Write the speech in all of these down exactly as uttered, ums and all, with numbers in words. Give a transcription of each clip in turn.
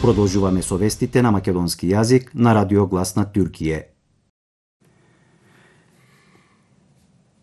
Продолжуваме со вестите на македонски јазик на Радио Глас на Туркије.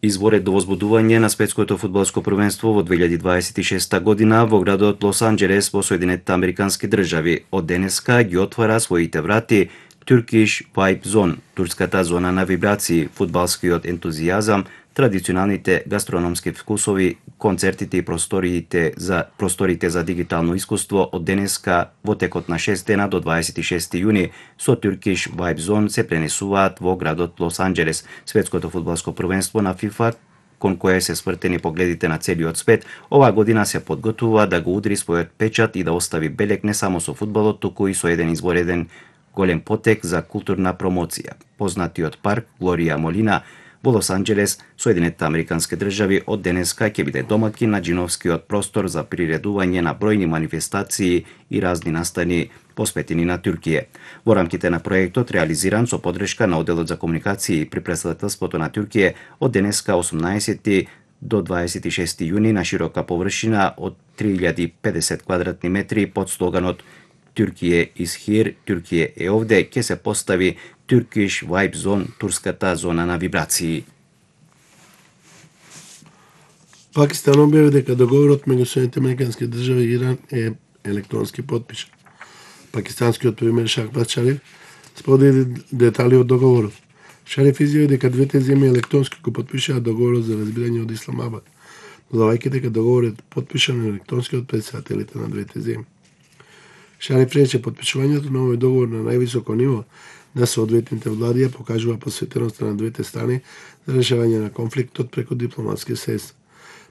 Изборот до возбудување на светското фудбалско првенство во две илјади дваесет и шеста година во градот Лос Анџелес во Соединетите Американски држави од денеска ги отвара своите врати Turkish Vibe Zone, турската зона на вибрации, фудбалскиот ентузијазам, традиционалните гастрономски вкусови, концертите и просториите за просторите за дигитално искуство од денеска во текот на шест дена до дваесет и шести јуни со Turkish Vibe Zone се пренесуваат во градот Лос Анџелес. Светското фудбалско првенство на FIFA, кон кое се свртени погледите на целиот свет, оваа година се подготвува да го удри својот печат и да остави белег не само со фудбалот, туку и со еден извореден голем потек за културна промоција. Познатиот парк Глорија Молина во Лос Анџелес, Соединетите Американски држави од денеска ќе биде домакин на джиновскиот простор за приредување на бројни манифестации и разни настани посветени на Туркија. Во рамките на проектот, реализиран со подршка на Оделот за комуникации при претседателството на Туркија, од денеска осумнаесети до дваесет и шести јуни на широка површина од три илјади и педесет квадратни метри под слоганот Туркије is here, Туркије е овде, ќе се постави Turkish Vibe Zone, турската зона на вибрации. Пакистан објави дека договорот меѓу Соединетите Американски држави и Иран е електронски потпишан. Пакистанскиот премиер Шахбаз Шариф сподели детали од договорот. Шариф изјави дека двете земји електронски го потпишаа договорот за разбирање од Исламабад, додавајќи дека договорот е потпишан електронски од претседателите на двете земји. Шариф рече потпишувањето на овој договор на највисоко ниво на соодветните влади покажува посветеноста на двете страни за решавање на конфликтот преку дипломатски средства.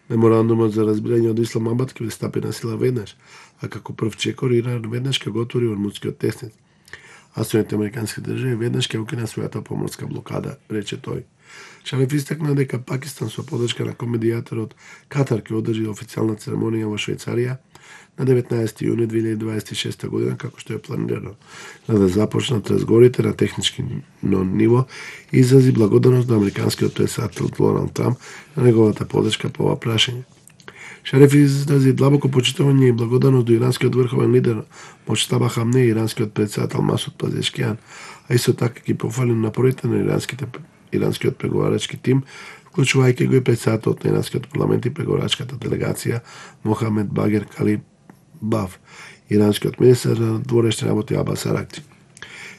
Меморандумот за разбирање од Исламабад ќе стапи на сила веднаш, а како прв чекор Иран веднаш ќе го отвори Ормудскиот тесниц. А Соединетите Американски држави веднаш ќе укина својата поморска блокада, рече тој. Шариф истакна дека Пакистан со подршка на комедијаторот Катар ќе одржи официјална церемонија во Швајцарија на деветнаесети јуни две илјади дваесет и шеста година, како што е планирано, за да започнат разговорите на технички ниво и изрази благодарност на американскиот претседател Доналд Трамп на неговата подршка по ова прашање. Шариф изрази длабоко почитување и благодарност до иранскиот врховен лидер Моџтаба Хамне и иранскиот претседател Масуд Пазешкијан, а исто така ги пофали напорите на иранските иранскиот преговарачки тим, вклучувајќи го и претседателот на иранскиот парламент и преговарачката делегација Мохамед Багер Калибаф, иранскиот министер на дворешни работи Абас Аракчи.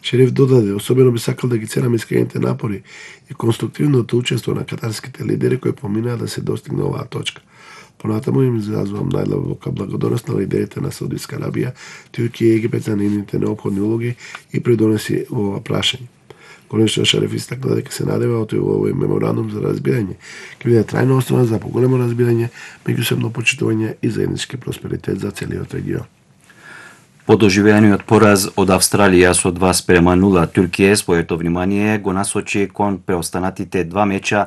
Шериф додаде, особено би сакал да ги ценам искрените напори и конструктивното учество на катарските лидери кои поминаа да се достигне оваа точка. Понатаму им изразвам најдлабока благодарност на лидерите на Саудитска Арабија, Туркија и Египет за нивните неопходни улоги и придонеси во ова прашање. Конечно, Шариф истакна дека се надева од овој меморандум за разбирање ќе биде трајно основа за поголемо разбирање, меѓусебно почитување и заеднички просперитет за целиот регион. По доживеаниот пораз од Австралија со два спрема нула, Туркија своето внимание го насочи кон преостанатите два меча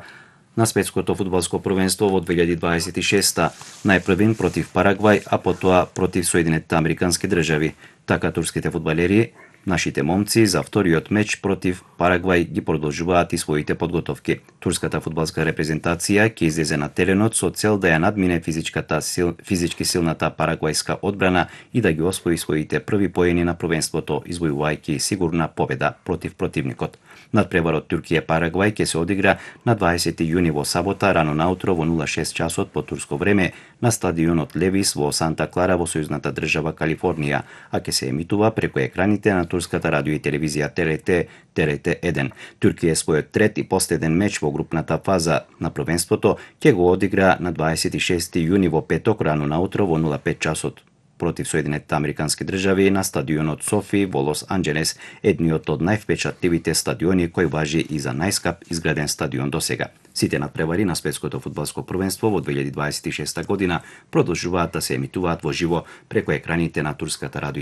на светското фудбалско првенство во две илјади дваесет и шеста, најпрвин против Парагвај, а потоа против Соединетите Американски држави. Така турските фудбалери, нашите момци, за вториот меч против Парагвај ги продолжуваат и своите подготовки. Турската фудбалска репрезентација ќе излезе на теренот со цел да ја надмине физичката сил, физички силната парагвајска одбрана и да ги освои своите први поени на првенството, извојувајќи сигурна победа против противникот. Надпреварот Туркија-Парагвај ќе се одигра на дваесети јуни во сабота рано наутро во нула шест часот по турско време на стадионот Левис во Санта Клара во сојузната држава Калифорнија, а ќе се емитува преку екраните на турската радио и телевизија ТРТ, ТРТ еден. Туркија својот трет и последен меч во групната фаза на првенството ќе го одигра на дваесет и шести јуни во петок рано наутро во нула пет часот против Соединетите Американски држави на стадионот Софи во Лос Анџелес, едниот од највпечатливите стадиони кој важи и за најскап изграден стадион досега. Сите надпревари на светското фудбалско првенство во две илјади дваесет и шеста година продолжуваат да се емитуваат во живо преку екраните на турската радио и